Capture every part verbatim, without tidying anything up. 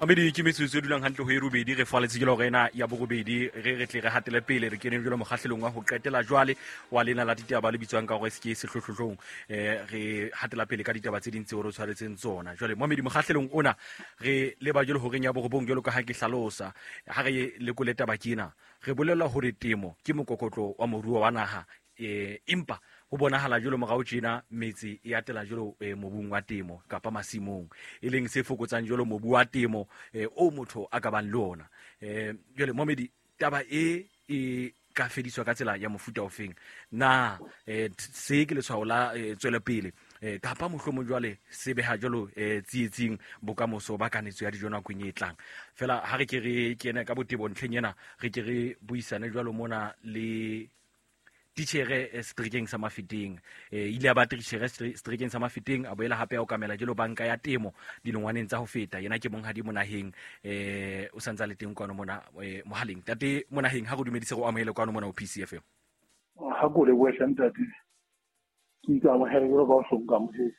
Mamedi, ke metsotso e dulang hantle ho e robedi, re faletse ke hora ena ya borobedi, re re tle re hatele pele, re kene jwalo mokgahlelong wa ho qetela jwale wa lena la ditaba le bitswang ka hore se ke sehlohlohlong. Eh re hatela pele ka ditaba tse ding tseo re tshwaretseng tsona. Jwale mamedi, mokgahlelong ona re leba jwalo horeng ya borobong, jwalo ka ha ke hlalosa, ha re lekole taba ke ena, re bolella hore temo ke mokokotlo wa moruo wa naha, eh empa ho bonahala jwalo morao tjena metse e atela jwalo eh, mobung wa temo kapa masimong, e leng se fokotsang jwalo mobu wa temo eh, o motho a ka bang le ona. Eh jwale momedi, taba e e ka fediswa ka tsela ya mofuta ofeng na? Eh, se ke letshwao la eh, tswelopele eh, kapa mohlomong jwale se beha jwalo eh, tsietsing bokamoso ba kanetso ya dijo nakong e tlang? Fela ha re ke re kene ka botebo ntlheng ena, re ke re buisane jwalo mona le titjhere eh, seterekeng sa Mafeteng. Eh, ile ya ba titjhere seterekeng sa Mafeteng, a boela hape a okamela jwalo banka ya temo dilengwaneng tsa ho feta. Yena ke monghadi Monaheng, eh o santsa le teng kwano mona eh, mohaleng. Tate Monaheng, ha re dumedise, go amohele kwano mona ho P C F M. Ha ko le bohle ntate, ke itse amohele jwalo ka o hloka amohetse.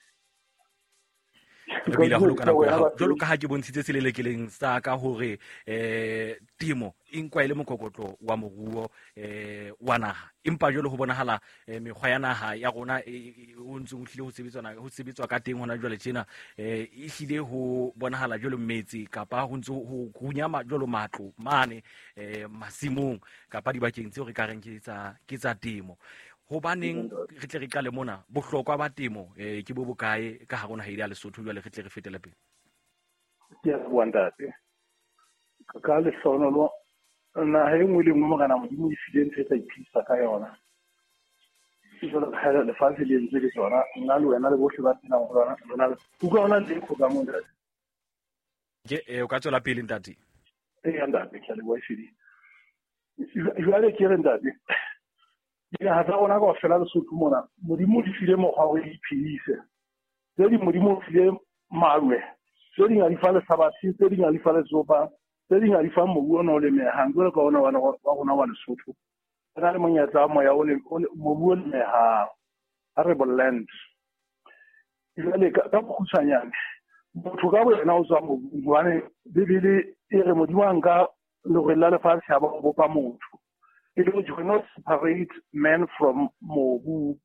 Re bile haholo ka nako ya hao. Jwalo ka ha ke bontshitse selelekeleng sa ka hore eh temo e nkwa e le mokokotlo wa moruo eh wa naha, empa jwale ho bonahala eh, mekgwa ya naha ya rona e o ntse o hlile ho sebetsana ho sebetswa ka teng hona jwale tjena, eh e hlile ho bonahala jwalo metse kapa ho ntse ho runyama jwalo matlo mane eh masimong kapa dibakeng tseo re ka reng ke tsa ke tsa temo. Hobaneng re tle re qale mona, bohlokwa ba temo eh ke bo bokae ka hare ho naha ya Lesotho? Jwale re tle re fetele pele. Ke a bua ntate, ka lehlohonolo naha e nngwe le nngwe Morena Modimo e file ntho e tla iphedisa ka yona. Ke jwalo ka ha lefatshe le entswe ke tsona, nna le wena le bohle ba phelang ho lona, rona le utlwa hona le echo ka moo ntate. Ke eh o ka tswela pele ntate. Ee ntate, ke a leboha ehlile. Jwale ke re ntate, dinaha tsa rona kaofela Lesotho mona, Modimo o di file mokgwa wa hore di iphedise. Tse ding Modimo o file malwe, tse ding a di fa lehlabathe, tse ding a di fa letsopa, tse ding a di fa mobu ona o lemehang jwalo ka ona wa rona wa Lesotho. Re na le monyetla wa moya o le mobu o lemehang, arable land. Jwale ka bokgutshwanyane, motho ka boyena o tswa mobung, hobane Bibele e re Modimo a nka lerwele la lefatshe a ba o bopa motho. E le hore you cannot separate man from mobu.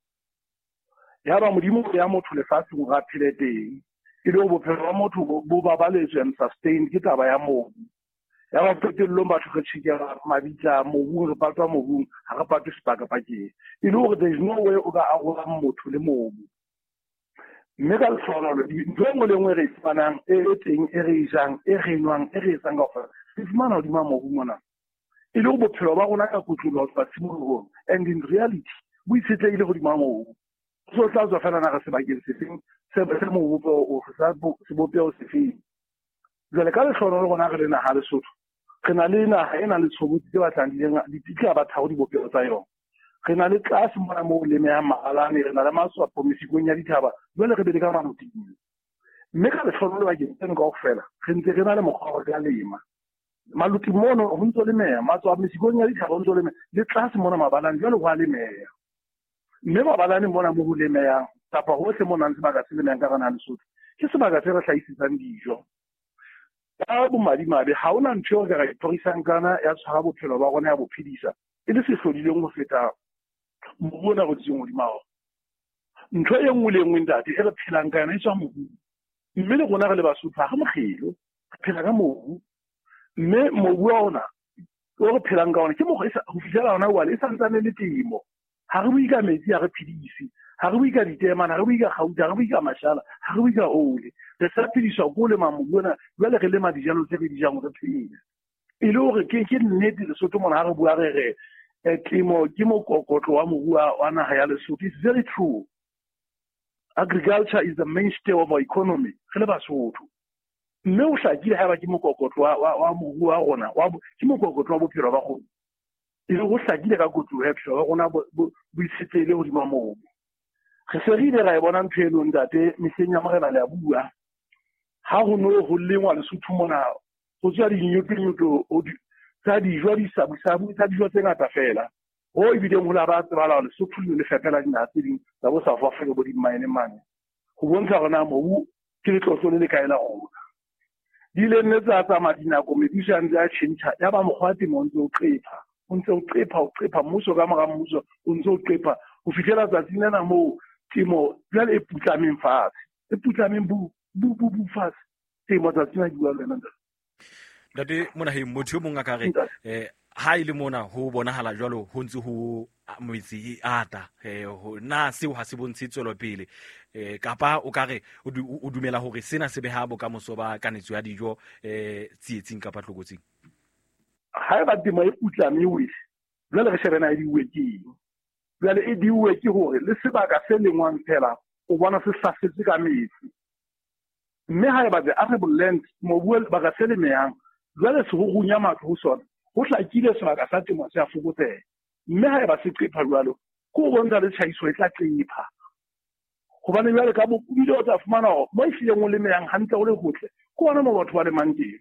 Yaba Modimo o beha motho lefatsheng hore a phele teng, e le hore bophelo ba motho bo babaletswe and sustained ke taba ya mobu. Yaba qetellong batho re tjhekela mabitla mobung, re patwa mobung, ha re patwe sepakapakeng. E le hore there is no way o ka arolang motho le mobu. Mme ka lehlohonolo, ntho e nngwe le nngwe e re e fumanang, e e teng, e re e jang, e re e nwang, e re etsang kaofela, re fumana hodima mobu mona. E le hore bophelo ba rona ka kotloloho ho tloha tshimolohong, and in reality bo itshetlehile hodima mobu. So tla tswa fela na re sebakeng sefeng, se se mobu ofe, sa sebopeho sefeng. Jwale ka lehlohonolo rona re le naha Lesotho, re na le naha e nang le tshobotsi tse batlang di le di tla ba tharo dibopeho tsa yona. Re na le tlase mona moo lemehang mahalane, re na le maswapo mesikong ya dithaba, jwale re be le ka maloting. Mme ka lehlohonolo bakeng tseno kaofela, re ntse re na le mokgwa wa hore re ka lema. Maluti mono ho ntso lemeha, matswa mesikong ya dithaba ho ntso lemeha, le tlase mona mabalane jwale ho a lemeha. Mme mabalane mona mo ho lemehang, kapa hohle mo nang sebaka se lemehang ka hara naha Lesotho, ke sebaka se re hlahisetsang dijo. Ka bomadimabe, ha hona ntho eo re ka ra ithorisang kana ya tshwara bophelo ba rona ya bo phedisa, e le se hlodileng ho feta mobu ona re dutseng hodima ona. Ntho e nngwe le e nngwe ntate e re phelang ka yona e tswa mobung. Mme le rona re le Basotho ha re mokgelo, re phela ka mobu. Mme mobu wa ona o re phelang ka ona ke mokgwa ho fihlela hona jwale e santsane le temo. Ha re bue ka metsi, ha re phedise, ha re bue ka diteemane, ha re bue ka kgauta, ha re bue ka mashala, ha re bue ka ole. Re sa phediswa ke ho lema mobu ona, jwale re lema dijalo tse re di jang hore re phele. E le hore ke ke nnete Lesotho mona ha re bua re re temo ke mokokotlo wa moruo wa naha ya Lesotho. It's very true. Agriculture is the mainstay of our economy. Re le Basotho. Mme o hlakile haeba ke mokokotlo wa wa moruo wa rona, wa ke mokokotlo wa bophelo ba rona. E le ho hlakile ka kotlo ya bophelo ba rona bo itshetlehile hodima mobu. Re se re ile ra e bona ntho eno ntate mehleng ya Morena le a bua. Ha ho no ho lengwa Lesotho mona, ho tswa dinyotonyoto tsa dijo, disabusabu tsa dijo tse ngata fela. Ho ebileng ho la ba tsebala hore Lesotho le fepela dinaha tse ding tsa bo South Africa bo di-mine mane. Ho bontsha hore na mobu ke letlotlo le le kae la rona. Di ile nne tsa tsamaya dinako, mebuso a ntse a tjhentjha, ya ba mokgwa wa temo o ntse o qepha, o ntse o qepha, o qepha, mmuso ka mora mmuso o ntse o qepha ho fihlela tsatsing lena moo temo jwale e putlameng fatshe, e putlameng bu bu bu bu fatshe temo tsatsing la ke bua le wena ntate. Ntate Monaheng, motho e mong a ka re eh ha ile mona ho bonahala jwalo ho ntse ho metse e ata, eh na seo ha se bontshe tswelopele, eh kapa o ka re o dumela hore sena se beha bokamoso ba kanetso ya dijo eh tsietsing kapa tlokotsing? Haeba temo e putlame e wele, jwale re shebe na e diuwe ke eng. Jwale e diuwe ke hore le sebaka se lengwang fela o bona se hlasetse ka metsi, mme haeba the arable land, mobu baka se lemehang, jwale se ho runya matlo ho sona, ho hlakile sebaka sa temo se a fokotseha. Mme haeba se qepha jwalo, ke ho bontsha le tlhahiso e tla qepha. Hobane jwale ka bobile o tla fumana hore mo ehlileng o lemehang hantle o le hotle, ke hona moo batho ba lemang teng.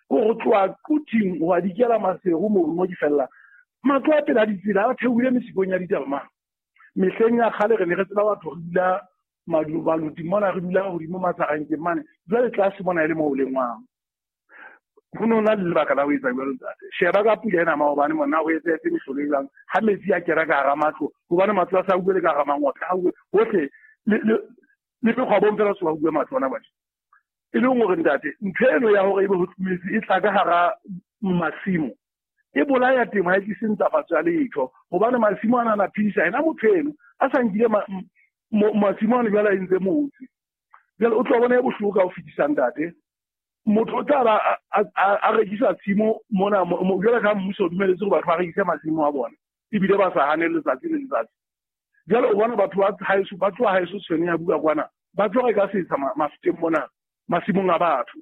Ke hore tloha Quthing ho a dikela Maseru moo mo di fella, matlo a pela ditsela a theohile mesikong ya ditaba mane. Mehleng ya kgale re ne re tseba batho re dula maluti mona, re dula hodimo Matsarankeng mane, jwale tlase mona e le moo o lengwang. Ho no na le lebaka la ho etsa jwalo ntate. Sheba ka pula ena maobane mona ho etsahetse mehlolo e jwang, ha metsi a kena ka hara matlo, hobane matlo a sa uwe le ka hara mangotla, a uwe hohle, le le le mekgwabong fela se ba uwe matlo ana batjha. E leng hore ntate, ntho eno ya hore ebe ho metsi e tla ka hara masimo, e bolaya temo, ha e tlise ntlafatso ya letho, hobane masimo ana a phedisa ena motho eno a sa nkile masimo ana jwale a entse motse. Jwale o tlo bona e bohloko ka ho fetisa ntate. Motho o tla ba a rekisa tshimo mona, jwale ka mmuso o dumeletse hore batho ba rekise masimo a bona, ebile ba sa hane letsatsi le letsatsi. Jwale o bona batho ba haeso, ba tloha haeso tshwene ya bua kwana, ba tlo reka setsha mafeteng mona, masimong a batho.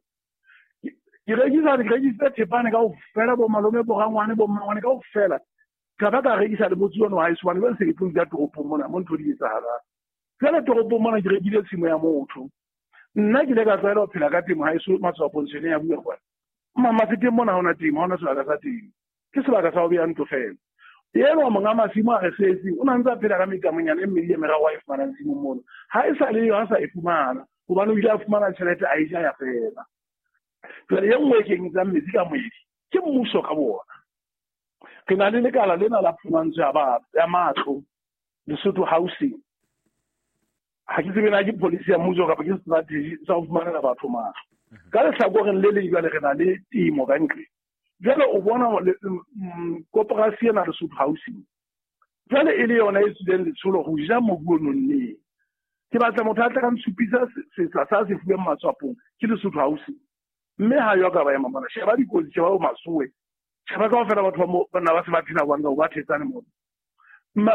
Ke rekisa, ke rekisitse thepane kaofela, bo malome, bo rangwane, bo mmangwane kaofela. Ka ba ka rekisa le motse ono haeso, hobane jwale se ke tlo dula toropong mona, mo ntho di etsahalang. Jwale toropong mona ke rekile tshimo ya motho. Nna ke ile ka tlwaela ho phela ka temo haeso Matswapong tshwene ya bua kwana. Mafeteng mona ha hona temo, ha hona sebaka sa temo. Ke sebaka sa ho beha ntlo fela. Eno monga masimo a re setse, o na ntse a phela ka mekamonyana e mmedi e meraro a e fumanang tshimong mono. Ha e sa le yo, ha sa e fumana, hobane o ile a fumana tjhelete a e ja ya fela. Jwale e nngwe e kenyetsang metsi ka moedi ke mmuso ka bona. Re na le lekala lena la phumantsho ya ba ya matlo, Lesotho Housing. Ha ke tsebe na ke policy ya mmuso kapa ke strategy sa ho fumanela batho matlo. Ka lehlakoreng le leng jwale re na le temo ka ntle. Jwale o bona koporasi ena Lesotho Housing, jwale e le yona e tswileng letsholo ho ja mobu o nonneng. Ke batla motho a tla ka ntshupisa setsha sa se fuweng Matswapong ke Lesotho Housing. Mme ha yo ka ba ema mona, sheba dikotsi, sheba bo Masowe, sheba kaofela batho ba mo bana ba se ba phela kwano, ba thetsane mona.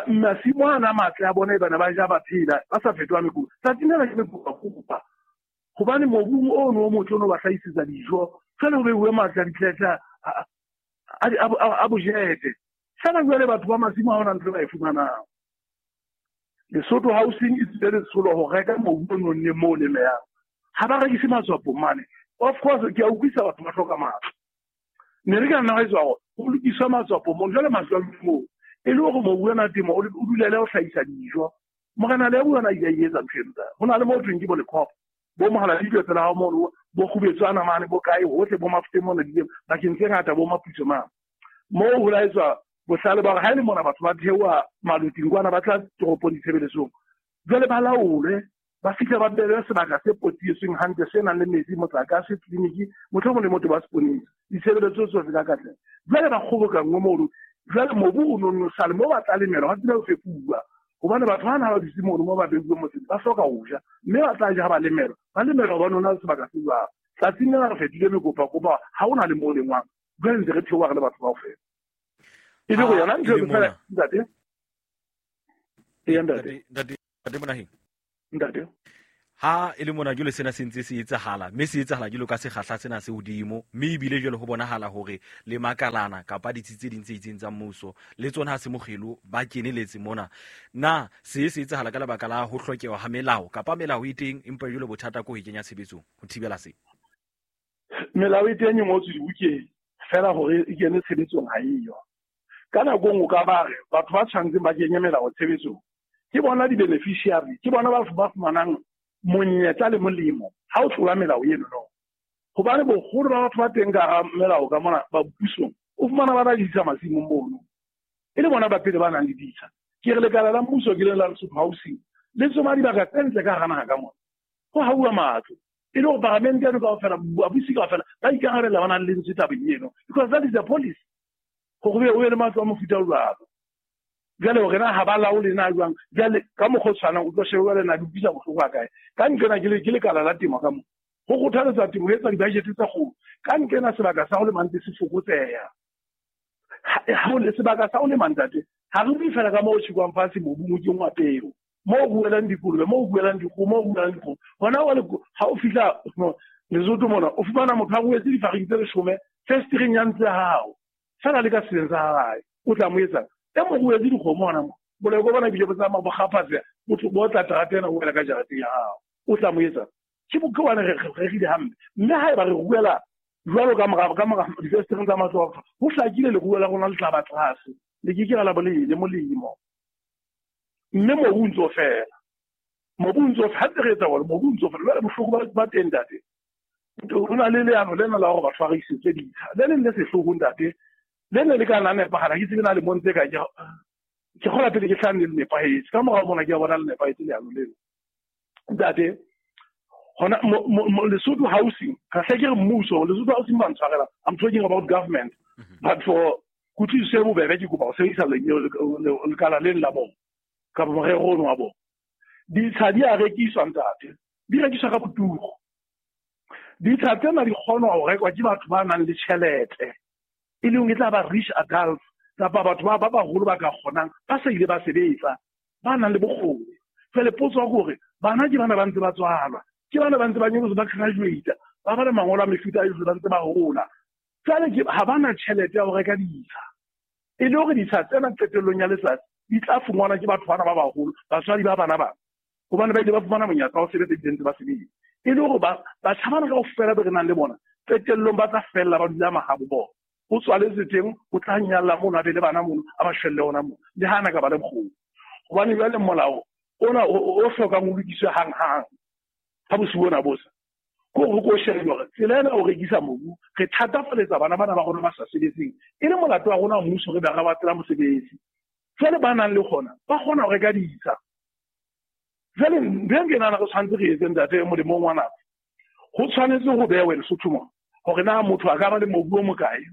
Masimo ana a matle a bona e bana ba ja ba phela, ba sa fetoha mekupa. Tsatsing lena ke mekupakupa, hobane mobung ono o motle ono ba hlahisetsa dijo, jwale ho beuwe matla a ditletla a bojete. Fela jwale batho ba masimo ha hona ntho e ba e fumanang. Lesotho Housing e tswile letsholo ho reka mobu o nonneng moo o lemehang. Ha ba rekise Matswapong mane. Of course, ke a utlwisa batho ba hloka matlo. Ne re ka nna ra etsa hore ho lokiswe Matswapong mono, jwale matlo a dule moo. E le hore mobu ona temo o dulele ho hlahisa dijo. Morena le yena a ile a etsa ntho eno. Ho na le moo thweng ke bo Lekhopo, bo Mohala Ditwe tsela ha mono, bo Kgubetswana mane, bo kae hohle, bo Mafuteng mona dilemo, bakeng tse ngata, bo Maputso mane. Moo ho la etswa bohlale ba hore ha e le mona batho ba theoha maloting kwana ba tla toropong ditshebeletsong, jwale ba laolwe, ba fihle ba behelwe sebaka se potietsweng hantle, se nang le metsi, motlakase, tleliniki, mohlomong le motho ba seponesa, ditshebeletso tsohle ka katleho. Jwale ba kgobokanngwe mono, jwale mobu o nonno sale moo ba tla lemelwa, ba tsebe ho fepuwa, hobane batho bana ha ba dutse mono moo ba beuwe motseng, ba hloka ho ja, mme ba tla ja ha ba lemelwa, ba lemelwa hobane ho na le sebaka se jwalo. Tsatsing lena re fetohile mekopakopa, ha hona le moo lengwang, jwale ntse re theoha re le batho kaofela. E le hore yona ntho e fela ntate. Eya ntate. Ntate, ntate Monaheng. Ntate. Ha e le mona jwale sena se ntse se etsahala, mme se etsahala jwalo ka sekgahla sena se hodimo, mme ebile jwale ho bonahala hore le makalana kapa ditsi tse ding tse itseng tsa mmuso le tsona ha se mokgelo ba keneletse mona. Na se se etsahala ka lebaka la ho hlokeha ha melao kapa melao e teng empa jwale bothata ke ho e kenya tshebetsong ho thibela se? Melao e teng e ngotswe dibukeng, fela hore e kene tshebetsong ha eyo. Ka nako e nngwe o ka ba re batho ba tshwanetseng ba kenye melao tshebetsong ke bona di-beneficiary, ke bona ba ba fumanang monyetla le molemo ha o tlola melao eno no. Hobane boholo ba batho ba teng ka hara melao ka mona ba pusong, o fumana ba na le ditsha masimong mono. E le bona ba pele ba nang le ditsha. Ke re lekala la mmuso ke le la Lesotho Housing le tsoma dibaka tse ntle ka hara naha ka mona. Ho hauwa matlo. E le hore paramente eno kaofela, babusi kaofela ba ikarabella ba nang le lentswe tabeng eno. Because that is the policy. Hore o be le matlo a mofuta o jwalo. Jwale hore na ha ba laole na jwang, jwale ka mokgwa o tshwanang o tlo shebe jwale na di utlwisa bohloko ha kae. Ka nqena ke le ke lekala la temo ka mo. Ho kgothaletsa temo ho etsa di-budget tse kgolo. Ka nqena sebaka sa ho lema ntse se fokotseha. Ha o le sebaka sa ho lema ntate, ha re bue fela ka moo ho tjhekwang fatshe mobung o kenngwa peo. Moo ho ruelang dikolobe, moo ho ruelang dikgoho, moo ho ruelang dikgomo. Hona jwale ha o fihla Lesotho mona, o fumana motho a ruetse difariki tse leshome fesetereng ya ntlo ya hao. Fela le ka seleng sa hae, o tla mo etsang? E mo ruetse dikgomo hona moo. Boleko bona ebile bo tsamaya bo kgaphatseha, botho bo tla terata ena o wela ka jareteng ya hao. O tla mo etsang? Ke bo ke hobane re rerile hampe. Mme haeba re ruela jwalo ka mora ka mora difesetereng tsa matlo a batho, ho hlakile leruo la rona le tla ba tlase. Le ke ke la ba le le molemo. Mme mobu o ntso fela. Mobu o ntso ha re etsa hore mobu o ntso fela. Jwale bohloko ba ba teng ntate. Ho na le leano lena la hore batho ba rekisetse ditsha. Le leng le sehloho ntate. Le ne le ka nna nepahala, ke tsebe na lemong tse kae, ke ke kgola pele ke hlano le nepahetse. Ka morao mona ke a bona le nepahetse leano leno. Ntate, hona Lesotho Housing, ka hle ke re mmuso, Lesotho Housing ba ntshwarela. I'm talking about government. But for kutlwisiso e bobebe ke kopa ho sebedisa lekala leno la bona kapa morero ono wa bona. Ditsha di a rekiswa ntate, di rekiswa ka boturu. Ditsha tsena di kgonwa ho rekwa ke batho ba nang le tjhelete, e leng e tla ba rich adults kapa batho ba ba baholo ba ka kgonang, ba sa ile ba sebetsa, ba nang le bokgoni. Jwale potso ya hore bana ke bana ba ntse ba tswalwa, ke bana ba ntse ba nyolosa ba graduate, ba ba le mangolo a mefuta yohle ba ntse ba hola. Jwale ke ha bana tjhelete ya ho reka ditsha. E le hore ditsha tsena qetellong ya letsatsi di tla fumanwa ke batho bana ba baholo, batswadi ba bana bana. Hobane ba ile ba fumana monyetla wa ho sebetsa ebile ntse ba sebetsa. E le hore ba batjha bana kaofela be re nang le bona, qetellong ba tla fella ba dula mahabo bona. O tswaletse teng, o tla nyalla mono, a be le bana mono, a ba shwelle hona mono. Le ha ana ka ba le bokgoni. Hobane jwale molao ona o hlokang o lokiswe hanghang. Ha bosiu bona bo sa. Ke hore ko shebe hore tsela ena o rekisa mobu, re thatafaletsa bana bana ba rona ba sa sebetseng. E le molato wa rona mmuso re be re batlela mosebetsi. Jwale ba nang le kgona, ba kgona ho reka ditsha. Jwale ntho e ke nahana re tshwanetse re etse ntate molemong wa nako. Ho tshwanetse ho behwe Lesotho mona hore na motho a ka ba le mobu o mokae,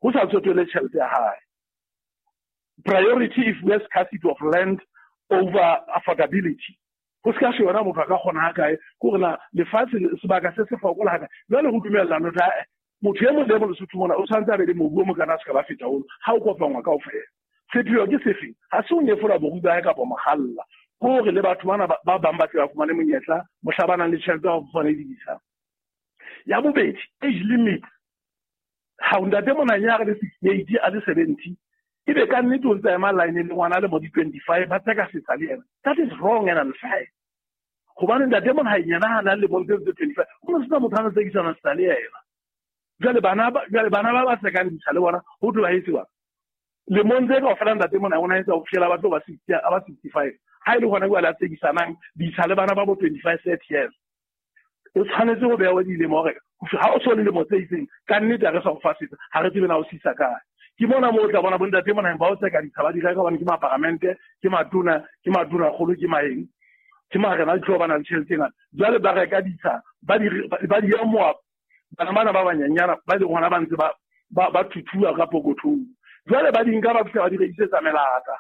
ho sa tsotelle tjhelete ya hae. Priority if we have scarcity of land over affordability. Ho ska sheba motho a ka kgona ha kae, ke hore na lefatshe sebaka se se fokola ha kae. Jwale ho dumellana hore motho e mong le e mong Lesotho mona o tshwanetse a be le mobu o mokana a se ka ba feta ono, ha o kopanngwa kaofela. Sepheo ke sefe? Ha se o nyefola borui ba hae kapa mokgalla. Ke hore le batho bana ba bang ba tle ba fumane monyetla mohla ba nang le tjhelete ya ho fumana ditsha. Ya bobedi, age limit. Ha o ntate mona ya re le sixty-eight a le seventy, ebe ka nnete o ntse a ema line le ngwana a le mo di-twenty-five ba tseka setsa le yena. That is wrong and unfair. Hobane ntate mona ha yena ha na le lemong tse twenty-five, ho no sena motho a tsekisana setsa le yena. Jwale bana ba jwale bana ba ba tsekang ditsha le bona ho tlo ba etsewa. Lemong tse kaofela ntate mona o na etsa ho fihlela ba tlo ba sixty, a ba sixty-five. Ha e le hona jwale a tsekisanang ditsha le bana ba bo twenty-five, thirty years. O tshwanetse ho beha dilemo hore ha o so le lemo tse itseng, ka nnete ha re sa o fa setsa, ha re tsebe na o sisa kae. Ke mona moo o tla bona bontate mona ba o tseka ditsha ba di reka hobane ke maparamente, ke matona, ke matona kgolo, ke maeng, ke marena a tlo ba nang le tjhelete e ngata. Jwale ba reka ditsha, ba di ba di amoha bana bana ba banyenyana ba leng hona ba ntse ba ba ba thuthuwa ka pokothong. Jwale ba di nka ba fihla ba di rekisetsa melata.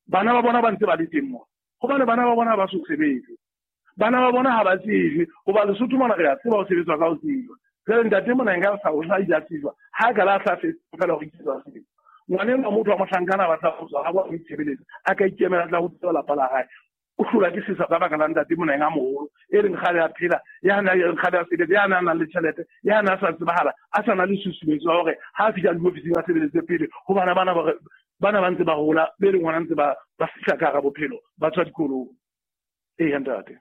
Bana ba bona ba ntse ba le teng moo. Hobane bana ba bona ba so sebetse. Bana ba bona ha ba tsejwe, hoba Lesotho mona re a tseba ho sebetswa ka ho tsejwa. Jwale ntate mona nka sa o sa ile a tsejwa, ha ka la sa fetsa fela ho rekisetswa sebetsa. Ngwana enwa motho wa mohlankana ba tla ho tswa ha ba ho itshebeletsa, a ka ikemela tla ho tseba lapa la hae. O hlolwa ke sesa ka baka la ntate mona a moholo, e leng kgale a phela, ya na ya kgale a sebetsa, ya na nang le tjhelete, ya na sa tsebahala, a sa na le susumetso ya hore ha a fihla diofising a sebeletse pele, ho bana bana ba bana ba ntse ba hola, be leng hona ntse ba ba fihla ka hara bophelo, ba tswa dikolong. Ee, ntate.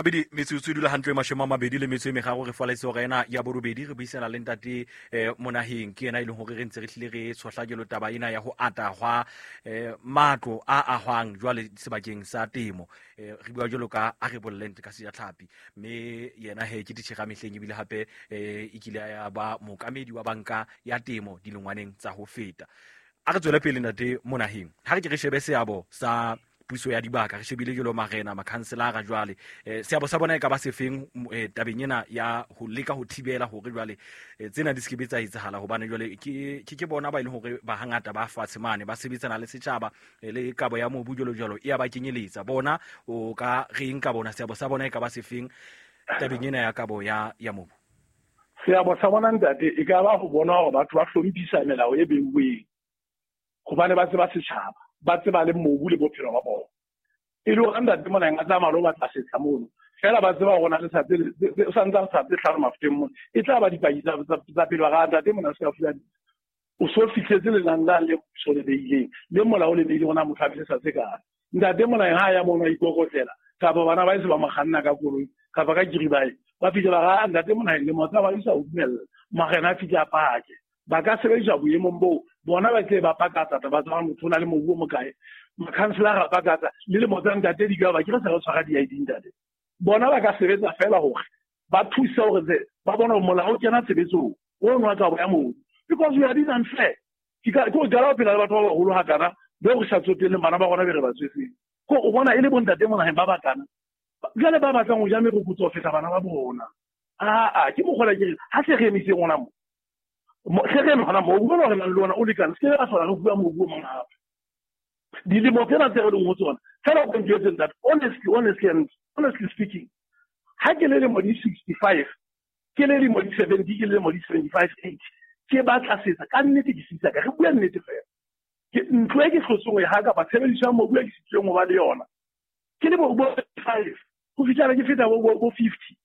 Abedi metsotso e dula hantle mashome a mabedi le metso e meraro re faletse hora ena ya borobedi re buisana le ntate eh, Monaheng ke yena e leng hore re ntse re hlile re tshohla jalo taba ena ya ho ata hwa eh, matlo a ahwang jwale sebakeng sa temo eh, re bua jalo ka arable land ka sejatlhapi mme yena he ke titjhere mehleng ebile hape eh, e kile ya ba mookamedi wa banka ya temo dilengwaneng tsa ho feta. A re tswele pele ntate Monaheng, ha re ke re shebe seabo sa puso ya dibaka re shebile jalo marena makhanselara jwale eh, seabo sa bona e ka ba sefeng eh, tabeng ena ya ho leka ho thibela hore jwale eh, tsena di se ke tsa etsahala hobane jwale ke ke ke bona ba e leng hore ba hangata ba fatshe mane ba sebetsana le setjhaba eh, le kabo ya mobu jalo jalo e ya ba kenyeletsa bona o ka reng ka bona seabo sa bona e ka ba sefeng tabeng ena ya kabo ya ya mobu? Seabo sa bona ntate e ka ba ho bona hore batho ba hlomphisa melao e beuweng hobane ba tseba setjhaba ba tseba le mobu le bophelo ba bona. E le hore ntate Monaheng a tsamaya lo batla setsha mono fela ba tseba hore na le sa tse sa ntse sa tse hlano mafuteng mono e tla ba dipaki tsa tsa pele ba ga ntate Monaheng se ka fuwa o so fihletse lenane la le puso le beileng le molao le beileng ona motho a fihle sa tse kae. Ntate Monaheng ha ya mono a ikokotlela kapa bana ba ise ba mo kganna ka koloi kapa ka kiribae ba fihle ba ga ntate Monaheng le motsa ba isa o dumella marena a fihle a pake ba ka sebedisa boemong boo bona ba tle ba pakatsa ba tswa motho o na le mobu o mokae makhanselara a pakatsa le lemo tsa ntate di ka ba ke re sa re tshwara di-I D ntate bona ba ka sebetsa fela hore ba thuse hore ba bona hore molao o kena tshebetsong o nwa kabo ya mobu because we are being unfair. Ke ka ke o jala ho phela le batho ba baholo hakana be re sa tsotelleng bana ba rona be re ba tswetseng ko o bona e le bontate Monaheng ba batana jwale ba batlang ho ja merokotso ho feta bana ba bona. Aa ke mokgola ke re ha se re emiseng ona mo hle re eme hona mobu ona re nang le ona o lekane se ke ra hlola re bua mobu o mong hape. Dilemo tsena tse re leng ho tsona fela o njwetse ntate honestly honestly and honestly speaking ha ke le lemo di sixty-five ke le lemo di seventy ke le lemo di seventy-five eight ke batla setsa ka nnete ke sitsa ka re bua nnete fela ke ntlo e ke hlotseng ho e ha kapa tshebediso ya mobu e ke sitilweng ho ba le yona ke le bo five ho fihlela ke feta bo bo fifty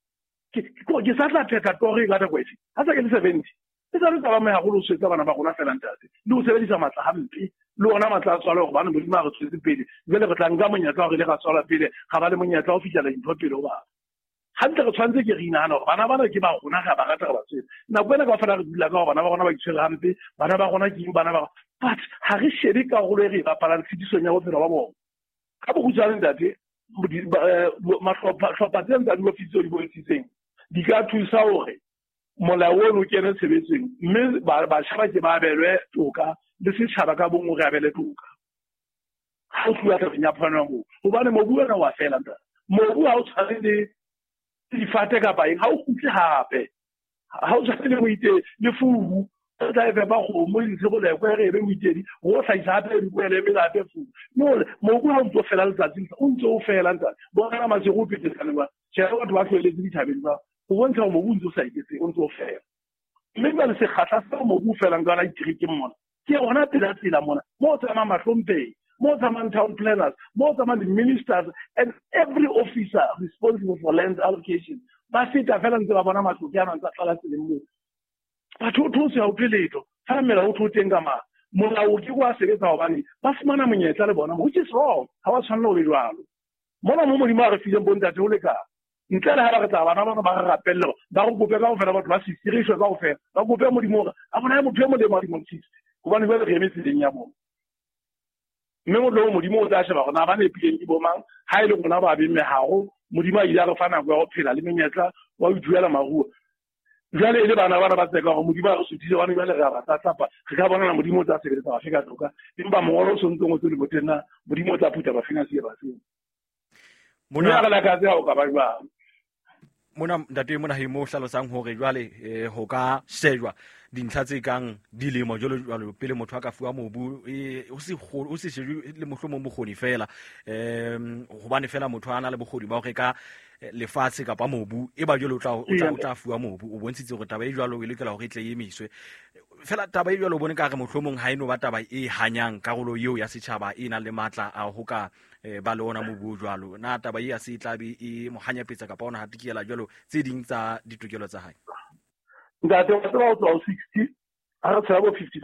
ke ke sa tla phetha toro e ka nako efe ha sa ke le seventy e sa re taba me haholo ho swetsa bana ba rona fela ntate le ho sebedisa matla hampe le ona matla a tswala hobane Modimo a re tswetse pele jwale re tla nka monyetla hore le ra tswala pele ga ba le monyetla ho fihlela dintho pele ho batho hantle re tshwanetse ke re inahana hore bana bana ke ba rona ga ba rata re ba tswetse nako ena kaofela re dula ka hore bana ba rona ba itshwere hampe bana ba rona ke eng bana ba but ha re shebe karolo e re e bapalang tshedisong ya bophelo ba bona ka bokgutshwane ntate mahlopha tsena tsa diofisi tseo di bontshitseng di ka thusa hore molao ono o kene tshebetsong mme batjha ba ke ba abelwe toka le setjhaba ka bong re abele toka ha o tluwa tabeng ya phano ya mobu hobane mobu ona wa fela ntate mobu ha o tshwane le difate kapa eng ha o kgutle hape ha o tshwane le moite le fubu o tla e fepa kgomo e ntshe bolekwe re ebe moitedi ho hlahisa hape dikwele ebe hape fubu no mobu ha o ntso fela letsatsi o ntso o fela ntate bona masego o petetsane ba tjhe batho ba tlohelletse dithabeng ba ho bontsha hore mobu o ntso sa eketse o ntso o fela mme jwale sekgahla seo mobu o felang ka yona diterekeng mona ke hona pela tsela mona mo o tsamayang mahlomphehi mo o tsamayang town planners mo o tsamayang di-ministers and every officer responsible for land allocation ba feta fela ntse ba bona matloke ana ntse a tlala tseleng moo batho o those ha o thwe letho fela melao o thwe o teng ka mang molao o ke wa sebetsa hobane ba fumana monyetla le bona which is wrong ha wa tshwanela ho be jwalo mona mo Modimo a re fileng bontate ho lekana ntle le ha ba re tla bana bana ba re rapelle ba re kope kaofela batho ba sixty re shwe kaofela ba kope Modimo hore a bona motho e molemo a dilemo sixty hobane jwale re eme tseleng ya bona mme molao Modimo o tla sheba hore na ba nepileng ke bo mang ha e le rona ba beng meharo Modimo a ile a re fa nako ya ho phela le menyetla wa ho ithuela maruo jwale e le bana bana ba tseka hore Modimo a re suthile hobane jwale re a ba tlatlapa re ka bonana Modimo o tla sebeletsa bafe ka toka empa mongolo o sontse o ngotswe leboteng na Modimo o tla phutha bafeng a siye bafeng mona re lakatse ha o ka ba jwang mona ntate Monaheng mo hlalosang hore jwale eh, ho ka shejwa dintlha tse kang dilemo jwalo jwalo pele motho a ka fuwa mobu o se o se shejwe le mohlomong bokgoni fela em hobane fela motho a na le bokgoni ba ho reka lefatshe kapa mobu e ba jwalo o tla o tla fuwa mobu o bontshitse hore taba e jwalo e lokela hore e tle e emiswe fela taba e jwalo o bone ka re mohlomong ha eno ba taba e hanyang karolo eo ya setjhaba e nang le matla a ho ka ba le ona mobu jwalo na taba e ya se tla be e mo hanyapetsa kapa ona hatikela jwalo tse ding tsa ditokelo tsa hae ntate wa tseba o tswa ho sixty ha re tshela bo fifty-five